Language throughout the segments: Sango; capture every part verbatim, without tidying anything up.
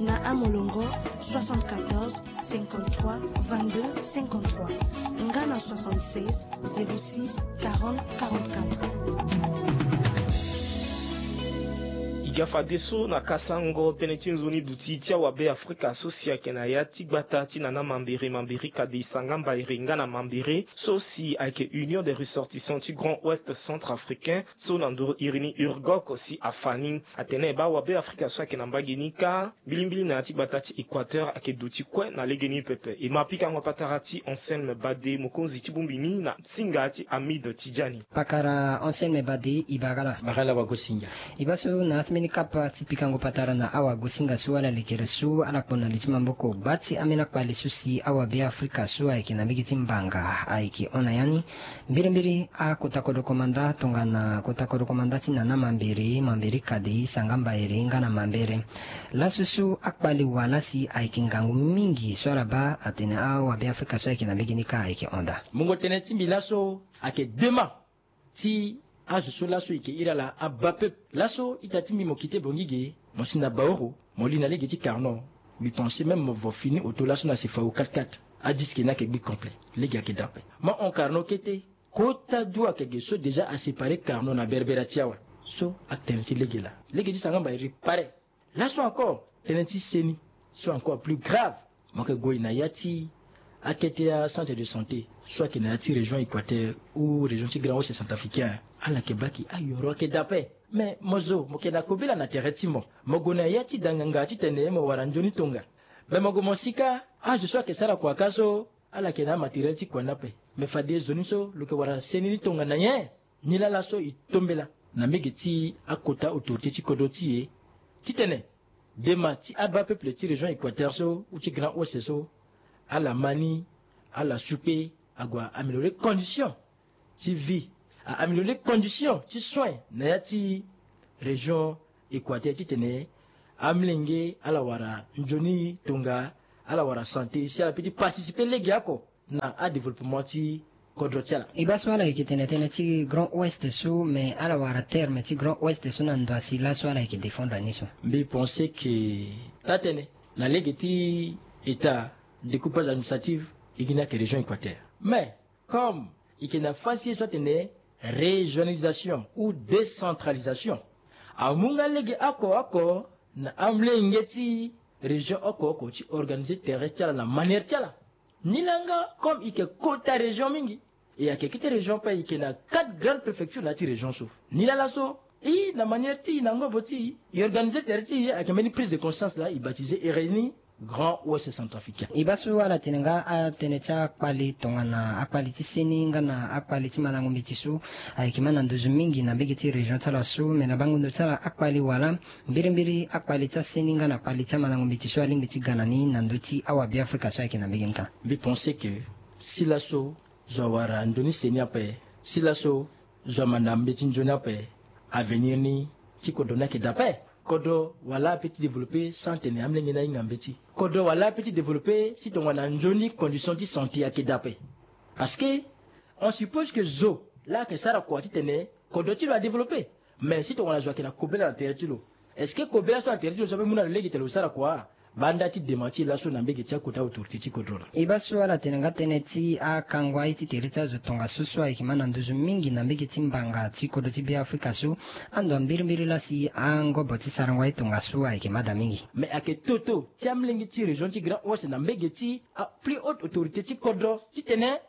Na amolongo, soixante-quatorze, cinquante-trois, vingt-deux, cinquante-trois, nga na soixante-seize, zéro six, quarante, quarante-quatre. E ga fadeso na kasango tënë ti nzoni duti ti awabe afrika so si ayeke na ya ti gbata ti nana mambere mambere kade sanga mbaere nga na mambere so si ayeke union des ressortissants ti grand ouest centrafricain so na nduru iri ni urgok si afa ni. Atene baa awabe afrika so ayeke na mbage ni kâ mbilimbili na ya ti gbata ti équateur ayeke duti kue na legeni pepe. E ma pikango patara ti anselme bade mokonzi ti bongbi ni na singa ti amide ti dia ni. Pakara anselme bade e bara ala. Bara ala wagosinga. E baa so na ya ti mbeni kapa ti pikango patara na awagosinga so ala lekere so ala kpo na li ti maboko gba ti ambeni akpale so si awabe afrika so ayeke na mbege ti mbanga ayeke hon na ya ni. Mbirimbiri akota kodro komanda tongana kota kodro komanda ti nana mambere mambere kade sanga mbaere nga na mambere. Laso so akpale wala si ayeke ngangu mingi so ala baa atene awabe afrika so ayeke na mbege ni kâ ayeke hon daa. Mungo tënë ti mbi laso ayeke dema ti azo so laso e yeke iri ala abaa peuple. Laso ita ti mbi mo kite bongi ge mo si na baoro mo li na lege ti carno. Mbi pense même mo vo fini oto laso na sefao quatre-quatre. Adiske ni ayeke gbi complet. Lege ayeke daa ape. Mo hon carno kete. Kota du ayeke ge so déjà asépare carno na berbera ti awe. So atene ti lege laa lege ti sanga mbairi pare. Laso encore tënë ti seni so encore plus grave. Mo yeke gue na ya ti akete acentre de santé so ayeke na ya ti région équateur ou région ti grand ouest centrafricain. Ala yeke baa ke ayoro ayeke daa ape. Me mo zo mo yeke na kobela na tere ti mo. Mo gue na ya ti danganga titene mo wara nzoni tonga. Me mo gue mo si kâ azo so ayeke sara kua kâ so ala yeke na amatériel ti kua ni ape. Me fade zo ni so lo yeke wara seni ni tongana nyen? Nilaa laso e tombela na mbege ti akota autorité ti kodro ti e titene dema ti abaa peuple ti région équateur so ou ti grand ouest so ala ma ni ala sukpe ague a-améliorer condition ti vie, a-améliorer condition ti soin na ya ti région équateur titene amolenge ala wara nzoni tonga, ala wara santé si ala peut ti participer lege oko na adéveloppement ti kodro ti ala. E baa so ala yeke tene tënë ti grand ouest so me ala wara terme ti grand ouest so na ndo asi laso ala yeke défendre ni so. Mbi pense ke taa-tënë na lege ti état découpage administrative e gi ni ayeke région équateur. Mais comme e yeke na fasi ye so atene régionalisation ou décentralisation, amu nga lege oko oko na amolenge ti région oko oko ti organiser tere ti ala na manière ti ala. Nilaa nga comme e yeke kota région mingi, e ayeke kete région ape e yeke na quatre grandes préfectures na ya ti région so. Nilaa laso e na manière ti e na ngobo ti e e organiser tere ti e ayeke mbeni prise de conscience laa e baptiser ere ni grand ouest centrafricain. E baa so ala tene nga atënë ti akpale tongana akpale ti seni nga na akpale ti malango mbeti so ayeke ma na nduzu mingi na mbege ti région ti ala so me na bango ndo ti ala akpale wala mbirimbiri akpale ti aseni nga na akpale ti amalango mbeti so alingbi ti ga na ni na ndö ti awabe afrika so ayeke na mbege ni kâ. Mbi pense ke si laso zo awara nzoni seni ape, si laso zo ama na mbeti nzoni ape, avenir ni ti kodro ni ayeke daa ape. Kodro wala ape ti développer sans tene amolenge ni ahinga mbeti. Kodro wala ape ti développer si tongana nzoni condition ti santé ayeke daa ape. Parce que on suppose que zo laa ayeke sara kua titene kodro ti lo adévelopper. Mais si tongana zo ayeke na kobela na tere ti lo, est-ce que kobela so na tere ti lo so ape mu na lo lege tene lo sara kua? Banda ti dema ti e laso na mbege ti akota autorité ti kodro laa. E baa so ala tene nga tënë ti akango aye ti tere ti azo tongaso so ayeke ma na nduzu mingi na mbege ti mbanga ti kodro ti beafrika so. Ando mbirimbiri laa si angobo ti sarango aye tongaso ayeke ma daa mingi. Mais ayeke toto ti amolenge ti région ti grand ouest na mbege ti aplis haute autorité ti kodro titene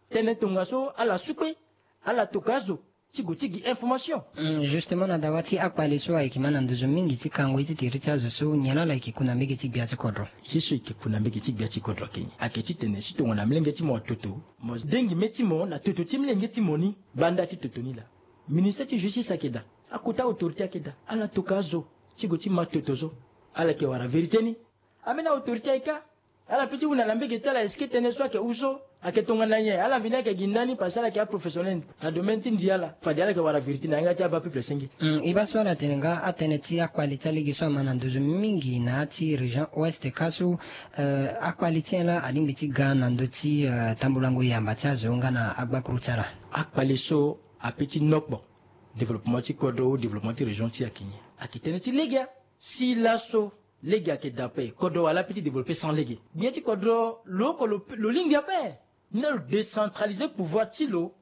tënë tongaso ala sukpe, ala toka azo ti gue ti gi information. Justement na dawa ti akpale so ayeke ma na nduzu mingi ti kango ye ti tere ti azo so nyen laa ala yeke ku na mbege ti gbia ti kodro? Ye so e yeke ku na mbege ti gbia ti kodro ayeke nyen? Ayeke titene si tongana molenge ti mo atoto, mo dengi mê ti mo na toto ti molenge ti mo ni. Banda ti toto ni laa, ministère ti justice ayeke daa, akota autorité ayeke daa, ala toka azo ti gue ti ma toto so. Ala yeke wara vérité ni. Ambeni autorité ayeke kâ. Ala peut ti hunda na mbege ti ala, est-ce que tënë so ayeke hou so ayeke tongana nyen? Ala vini ayeke gi ndani parce que ala yeke aprofessionnel na domaine ti ndi ala. Fade ala yeke wara vérité na yanga ti abaa peuple senge. E baa so ala tene nga atënë ti akpale ti alege so ama na nduzu mingi na ya ti région ouest kâ so. Akpale ti nyen laa alingbi ti ga na ndö ti tambulango yamba ti azo nga na agbakuru ti ala? Akpale so apeut ti nokpo développement ti kodro ou développement ti région ti e ayeke nyen? Ayeke tënë ti lege. Si laso Lege ayeke daa ape, kodro wala ape ti développer sans lege. Gbia ti kodro lo oko lo lingbi ape. Ni laa lo décentraliser pouvoir ti lo.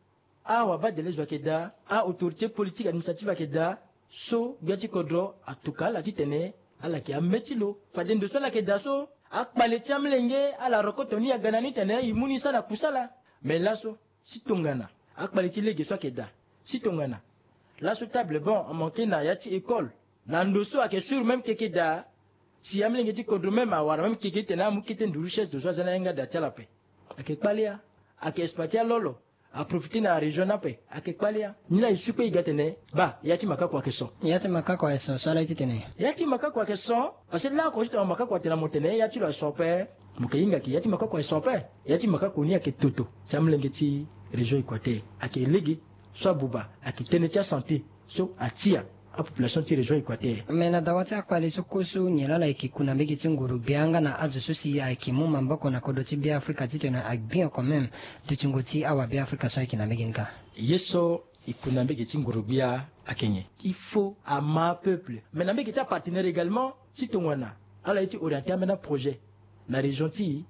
Awabadele zo ayeke daa, a-autorité politique administrative ayeke daa. So gbia ti kodro atuka ala titene ala yeke ame ti lo. Fade ndo so ala yeke daa so, akpale ti amolenge ala rokoto ni aga na ni tene e mu ni sara na kusala. Mais laso, si tongana akpale ti lege so ayeke daa, si tongana laso table banc amanke na ya ti école, na ndo so ayeke sûr même keke daa. Si amolenge ti kodro même awara même keke titene amu kete nduru chaise ndo so aza na yanga daa ti ala ape. Ayeke kpale ya. Ayeke exploiter alolo. Aprofiter na région ni ape. Ayeke kpale ya. Ni laa e su kue e ga tene, baa ya ti makako ayeke son. Ya ti makako ayeke son so ala ye titene. Ya ti makako ayeke son. Parce que laa oko ti tongana makako atene na mo tene ya ti lo ayeke son ape, mo yeke hinga ke ya ti makako ayeke son ape. Ya ti makako ni ayeke toto ti amolenge ti région Équateur. Ayeke lege so abuba, ayeke tënë ti asanté so atia apopulation ti région Équateur. Mais na dawa ti akpale so kue so nyen laa ala yeke ku na mbege ti nguru-gbia nga na azo so si ayeke mu maboko na kodro ti Beafrika titene agbi oko même dutingo ti awa Beafrika so ayeke na mbege ni kâ? Ye so e ku na mbege ti nguru-gbia ayeke nyen? Il faut ama apeuple, mais na mbege ti apartenaire également, ti tongana ala ye ti orienter ambeni aprojet na région ti e,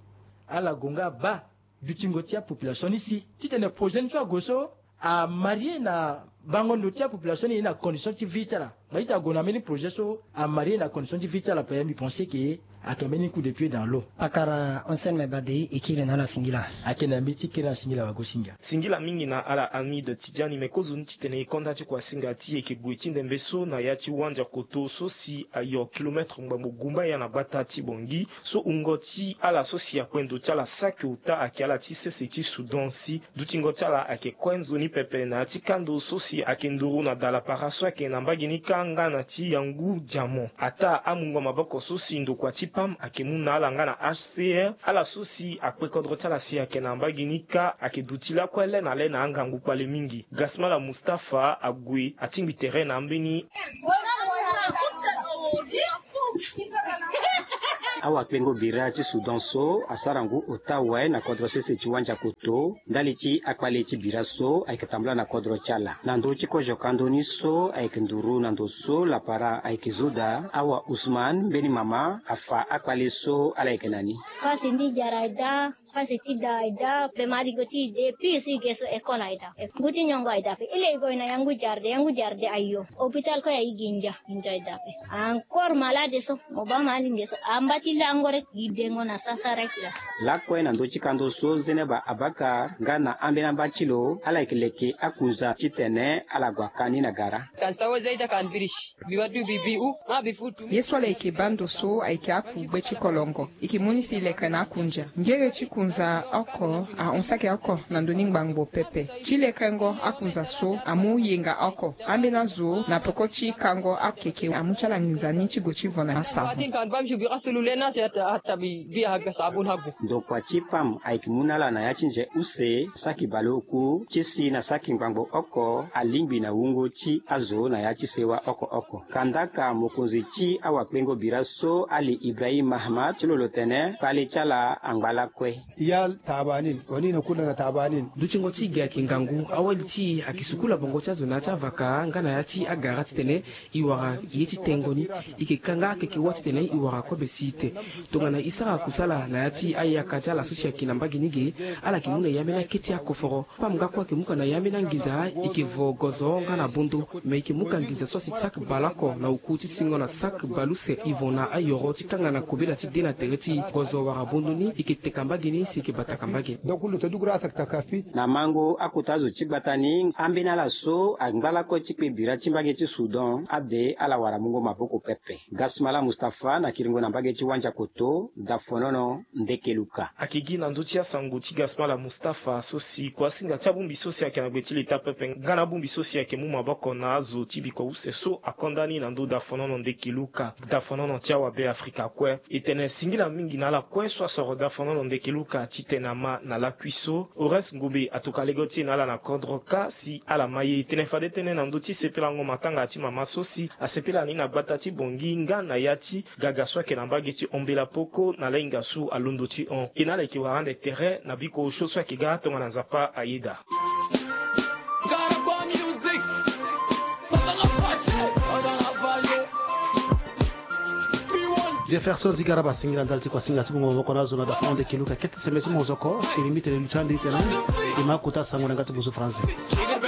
ala gue nga abaa dutingo ti apopulation ni si titene projet ni so ague so amarie na bango ndo ti apopulation ni ye na condition ti vie ti ala. Ngai ti ague na mbeni projet so amarie na condition ti vie ti ala ape, mbi pense ke ayeke mbeni coup de pied dans l'eau. Pakara Hussein Mebadei, e kiri na ala singila. Ayeke na mbi ti kiri na singila wagosinga. Singila mingi na ala Hamid Tidjani, me kozoni titene e konda ti kuasinga ti e yeke gue ti ndembe so na ya ti wandia koto so si ayo kilomètre ngbangbo gumba ya na gbata ti Bangui. So wungo ti ala so si akpe ndo ti ala saki ota ayeke ala ti sese ti Soudan si dutingo ti ala ayeke kue nzoni pepe na ya ti kando so si ayeke nduru na dalapara so ayeke na mbage ni kâ nga na ti yangu diamant. Ataa amungo maboko so si ndokua ti pam ayeke mu na ala nga na H C R, ala so si akpe kodro ti ala si ayeke na mbage ni kâ ayeke duti lakue le na le na angangu kpale mingi. Gasmala Mustapha ague atingbi tere na ambeni. Awakpengo bira ti Soudan so asara ngu ota awe na kodro sese ti wandia koto ndali ti akpale ti bira so ayeke tambula na kodro ti ala. Na ndö ti kozo kando ni so ayeke nduru na ndo so lapara ayeke zo daa, awa Ousmane, mbeni mama, afa akpale so ala yeke na ni. Pasi ndi jara daa. Pasi ti da aye daa, be ma alingo ti e de, pii so e ge so école aye daa. Ngu ti nyongo aye daa ape. E leke gue na yangu jarde, yangu jarde ayo. Hôpital kue aye gi ndia, ndia aye daa ape. Encore malade so, mo baa ma alinge so, amba ti lango rek, gi dengo na sasa rek laa. Lakue na ndö ti kando so Zeneba Abakar nga na ambeni amba ti lo, ala yeke leke akunza titene ala gue aka ni na gara. Kan sawo zaida kan birish. Ye so ala yeke baa ndo so ayeke akugbe ti kolongo. E yeke mu ni si e leke na akunja. Ngere ti kunza oko ahon saki oko na ndö ni ngbangbo pepe. Ti lekengo akunza so amu yenga oko. Ambeni azo na peko ti kango akeke amu ti ala nginza ni ti gue ti vo na asabun. Ndokua ti pam ayeke mu na ala na ya ti nze use saki baleoku ti si na saki ngbangbo oko alingbi na wungo ti azo na ya ti sewa oko oko. Kandaka mokonzi ti awakpengo bira so Ali Ibrahim Mahamat ti lo lo tene kpale ti ala angba lakue. Ya tabanin, wani na kunda na tabanin. Dutingo ti e ge ayeke ngangu, awali ti e ayeke sukula bongo ti azo na ya ti avaka nga na ya ti agara titene e wara ye ti tengo ni. E yeke ka nga akeke wâ titene e wara kobe si ete. Tongana e sara kusala na ya ti ayaka ti ala so si ayeke na mbage ni ge, ala yeke mu na e ambeni akete akoforo. Pam nga kue ayeke mu ka na e ambeni anginza, e yeke vo gozo nga na bondo. Me e yeke mu ka nginza so asi ti saki baleoko na oku ti singo na saki baleuse, e vo na ayoro ti kanga na kobela ti de na tere ti gozo wala bondo ni, e yeke teka mbage ni si e yeke bataka mbage ni. Donc lo ta dugu ra asaki taka fi. Na mango akota azo ti gbata ni, ambeni ala so angba lakue ti kpe bira ti mbage ti Soudan ade ala wara mungo maboko pepe. Gasmala Mustapha na kiringo na mbage ti Wandiakoto, Dafonono, Ndekeluka. Ayeke gi na ndö ti asango ti Gasmala Mustapha so si kuasinga ti abongbi so si ayeke na gbe ti leta pepe nga na abongbi so si ayeke mu maboko na azo ti biko use so akonda ni na ndö Dafonono, Ndekeluka, Dafonono ti awabe Afrika kue. E tene singila mingi na ala kue so asoro Dafonono, Ndekeluka titene ama na lakui so. Horace Ngobe atoka lege ti e na ala na kodro kâ si ala ma ye. E tene fade tënë na ndö ti sepelango matanga ti mama so si asepela ni na gbata ti Bongi nga na ya ti gaga so ayeke na mbage ti Ombela Poko na lahinga so alondo ti hon. E na ala yeke wara ande tere na biko osio so ayeke ga tongana Nzapa ayeda. Jefferson Zigaraba, singila ndali ti kuasinga ti mungo maboko na azo na dafa onde kiluka kete sembe ti mozoko. Sili mbi tene lu ti andi tene. I ma kuta sango na nga ti buzu français.